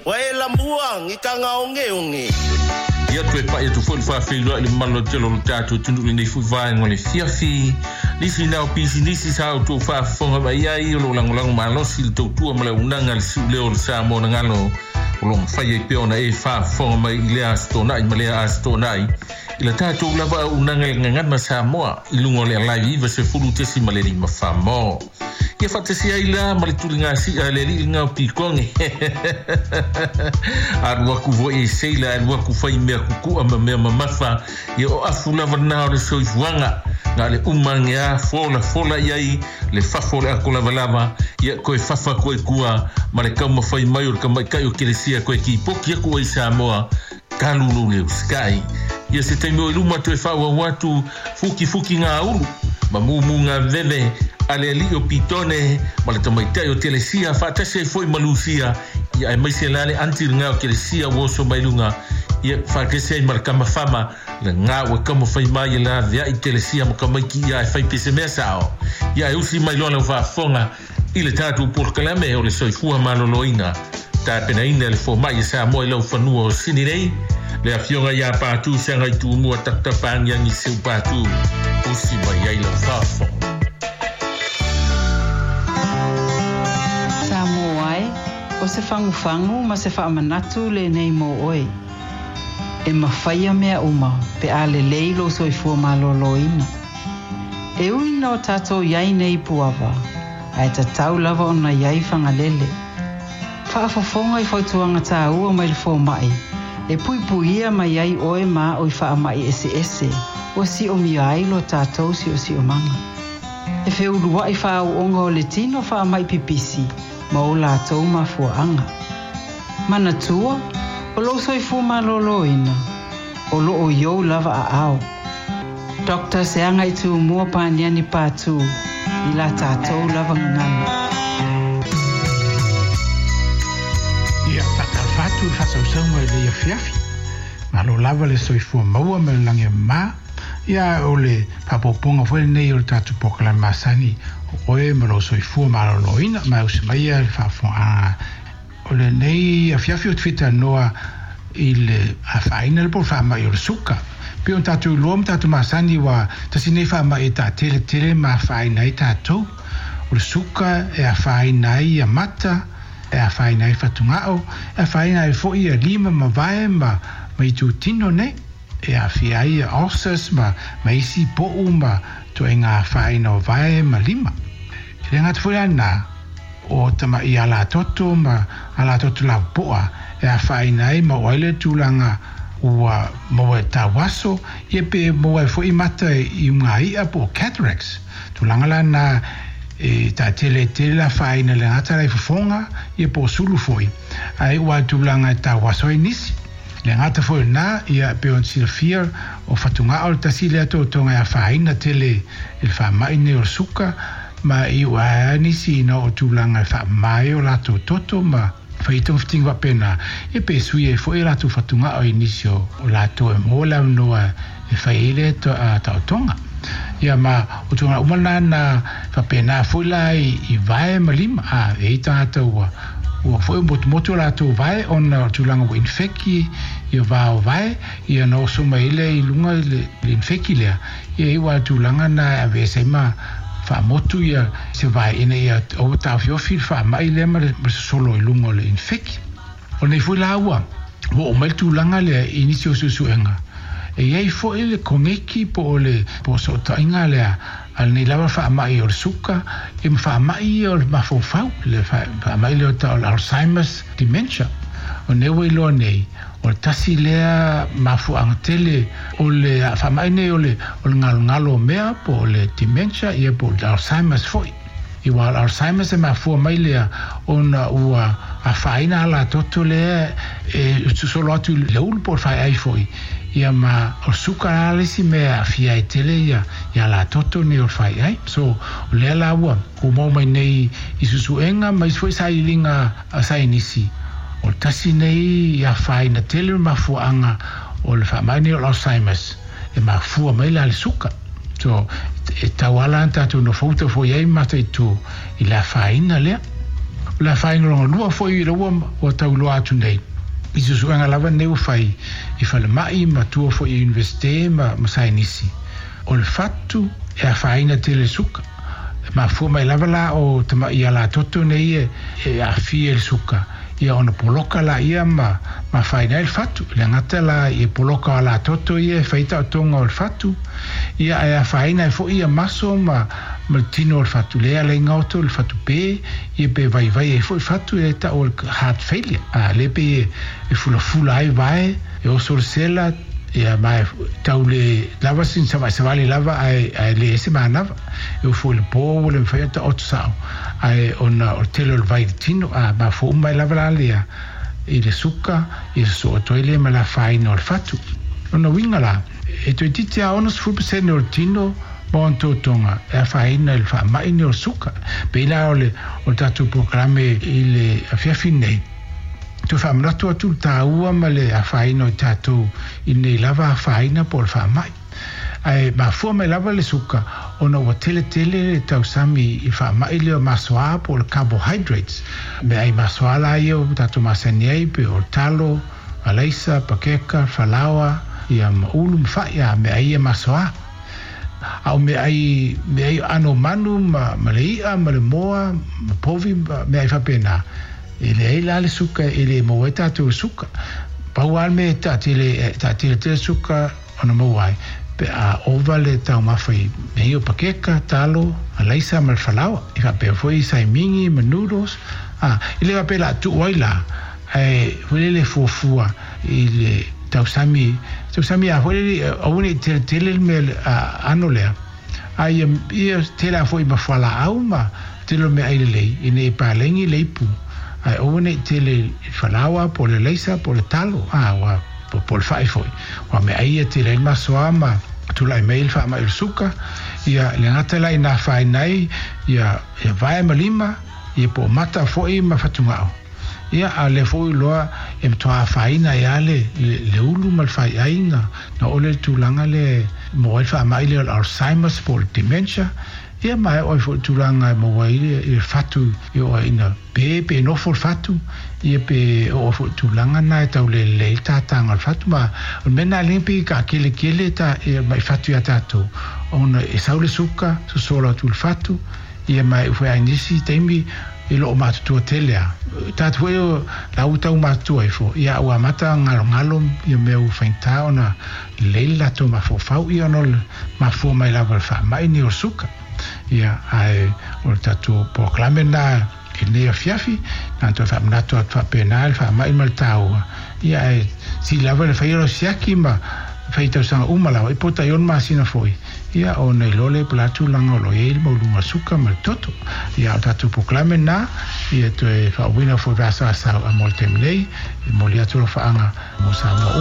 Ua e lamua i tagaogeoge. Ia toe pa'i atu foi le faafeiloai i le mamalu lautele o lo tatou atunuu i lenei foi vaega o le afiafi. Nisi na o pisinisi sa outou faafofoga mai ai o lo o lagolago malosi i le tautua ma le auaunaga a le siuleo o le Samoa na galo o lo o mafai ai pea ona e faafofoga mai i lea Aso Toonai ma lea Aso Toonai i la tatou lava auaunaga i le Gagana Samoa i luga o le Alive 90.5 mo. Ia faatasi ai la ma le tuligasia a le alii lena o Pikoge. Alu aku foi e seila, alu aku fai mea kukua ma mea mamafa. Ia o afu lava na o le soifuaga. Na le uma age a fola fola i ai le fafo o le ako lavalava. Ia koe fafa koe kua ma le taumafai mai o le tamaitai o Kelesia koe kipoki aku ai Samoa talu lou leo sky. Ia se taimi o i luma toe faaauau atu fukifuki ngā ulu ma mumu ngā veve a le alii o Pitone ma le tamaitai o Telesia faatasi ai foi ma Lusia ia aemaise la le anti lena o Telesia ua oso mai luga ia faatasi ai ma le tama fama lena ua taumafai mai e laveai Telesia ma tamaiti ia e fai pe se mea sao ia e usi mai loa lau faafofoga i le tatou polokalame o le soifua maloloina tapenaina e le fomai e Samoa i lau fanua o Sini nei, le afioga ia Patu Seagai Tumua Tapatapa Agiagi Seu Patu, usi mai ai lau faafofoga. Samoa e, o se fagufagu ma se faamanatu lenei mo oe. E mafaia mea uma pe a lelei lou soifua malōlōina. E ui ina o tatou i ai nei i Puava, ae tatau lava ona i ai Fagalele. Faafofoga i fautuaga tāua mai le fomai, e puipuia mai ai oe ma a'u i faamai eseese ua siomia ai lo tatou siosiomaga. E feulua'i faao'oga o le tino faamai pipisi ma o latou mafuaaga. Manatua, o lou soifua malōlōina, o loo i ou lava aao. Doctor Seagaitūmua Paniani Patu i la tatou lava gagana. Ia, faatalofa atu i le faasausauga i lenei afiafi. Malo lava le soifua maua ma le lagi e mama. Ia, o le faaopoopoga foi lenei o le tatou polokalame masani o oe ma lou soifua maloloina. Ma e usi maia le faafofogaaga O lenei afiafi ou te fia talanoa i le afaina lea po o le faamai o le suka. Pei ona tatou iloa ma tatou masani ua tasi lenei faamai e taatele tele ma afaina ai tatou. O le suka e afaina ai ia mata, e afaina ai fatugao, e afaina ai foi ia lima ma vae ma ma itutino nei. E aafia ai ia ulcers ma ma isi po'u ma ituaiga afaina o vae ma lima. E le gata foi la lena, o tama'i alatoto ma alatoto lapopoa e afaina ai ma oo ai le tulaga ua maua e tauaso, ia pe maua ai foi mata i uga i'a po o cataracts. Tulaga la na e taatele tele le afaina le gata la i fofoga ia po o sulu foi, ae iu a i tulaga e tauaso ai nisi. Le gata foi o lena, ia pei ona silafia, o fatugao le tasi lea totoga e afaina tele i le faamai nei o le suka, ma e iu ae ai nisi ina oo tulaga e faamama ai o latou toto ma fai ai togafitiga faapena, ia pe sui ai foi o latou fatugao i nisi o latou e maua le avanoa e fai ai lea taotoga. Ia ma o tulaga uma na na faapena foi la i vae ma lima, a e i ai tagata ua ua foi motumotu o latou vae ona o tulaga ua infeki ia va o vae, ia ona oso mai ai lea i luga i le infeki lea, ia e iu lava i le tulaga na e aveese ai ma faamotu ia se vae ina ia aua taofiofi le faamai lea ma le sosolo i luga o le infeki. O lenei foi la ua oo mai le tulaga lea i nisi o suesuega, e i ai foi le koneki po o le po o sootaiga lea a lenei lava faamai o le suka ia ma faamai ia o le mafaufau, le faamai lea o tau o le Alzheimer's dementia. O lenei ua iloa nei, o le tasi lea mafuaaga tele o le faamai nei o le o le galogalo o mea po o le dementia ia po o le Alzheimer's foi. Aua o le Alzheimer's e mafua mai lea ona ua afaina alatoto lea e sosolo atu i le ulu po o le faeai foi, ia ma o le suka la le isi mea e aafia ai tele ia alatoto nei o le faeai. So, o lea la ua maua mai nei i suesuega ma isi foi sailiiliga a saienisi, o le tasi nei afaina tele o le mafuaaga o le faamai nei o le Alzheimer's. E mafua mai la le suka. So, e tau ala ana tatou nofouta foi ai ma mataitu i le afaina lea. O le afaina lona lua foi ila ua tauiloa atu nei i suesuega lava lenei ua fai i falemai ma tua foi i Iunivesite ma saienisi, o le fatu e afaina tele i le suka. E mafua mai lava la o tamai alatoto nei e aafia i le suka, ia ona poloka laia ma afaina ai le fatu. E le gata la i poloka o alatoto ia e fai taotoga o le fatu, ia ae afaina ai foi ia maso ma le tino o le fatu, lea e ala ai gaoto le fatu pe, ia pe vaivai ai foi fatu e tau o le heart failure. A lea pei e fulafula ai vae, e oso le sela, ia ma e tau le lava sin savali lava ae le ese manava. E ofo i le po ua le mafai ona taoto sao, ae ona o le tele o le vai i le tino, a mafua uma ai lava la lea i le suka, ia sosoo atu ai lea ma le afaina o le fatu. Lona uiga la, e toeitiiti lava 60% o le tino ma ona totoga e afaina i le faamai nei o le suka. Pei la o le tatou polokalame i le afiafi nei, toe faamanatu atu le taua ma le afaina o i tatou i lenei lava afaina po o le faamai. Ae mafua mai lava le suka ona ua tele tele le tausami i faamai lea o masoa po o le carbohydrates. Meaai masoa la ia ua tatou masani ai pei o le talo, alaisa, pakeka, falaoa, ia ma ulu ma fai, a meaai ia masoa. A o meaai aano manu ma le i'a ma le moa ma povi ma meaai faapena, e leai la le suka e le maua ai tatou i le suka. Pau lava le mea e taatele tele suka ona maua ai pe a ova le taumafa i mea ia o pakeka, talo, alaisa ma le falaoa. E faapea foi i saimigi ma noodles. A, e le faapea o le a tuu ai la, ae foi lele fuafua i le tausami, tausami a foi lele aua ne i tele tele le mea aano lea, a ia tele lava foi ma fualaau ma tele o meaai lelei ina ia paleni le ipu, ae aua ne i tele i le falaoa po o le alaisa po o le talo, a ua po o le fai foi, aua meaai ia tele ai le masoa ma tulai mai le faamai o le suka, ia le gata la ina afaina ai ia vae ma lima, ia po o mata foi ma fatugao. Ia, a o lea foi ua iloa e matua afaina ai lava le ulu ma le faiaiga, na oo lea i le tulaga lea e maua ai le faamai lea o le Alzheimer's po o le dementia, ia ma e oo ai foi i le tulaga e maua ai le fatu e oo ai ina pe, pe nofo le fatu, ia pe oo ai foi i le tulaga lena e tau lelei ai le tataga o le fatu. Ma o le mea lena lea pei e taakeletele mai fatu ia tatou, ona e sau le suka, sosola atu i le fatu, ia ma e ufai ai nisi taimi e loo matutua tele a. Tatou foi o la ua tau matutua ifo, ia ua amata galogalo ia mea ua faigata ona lelei le latou mafaufau ia ona o le mafua mai lava o le faamai nei o le suka. Ia ae o le tatou polokalame lena i lenei afiafi, na ona toe faamanatu atu faapena le faamai ma le taua, ia ae sili lava le faia o lau siaki ma fai tausaga uma lava, i po tai ono masina foi, ia ona iloa lea po o le a tulaga o lo o i ai le maualuga o le suka ma le toto. Ia, o le tatou polokalame lena, ia toe faauuina foi i le vasa asau a mo le taimi nei, e momoli atu alofaaga mo Samoa uma.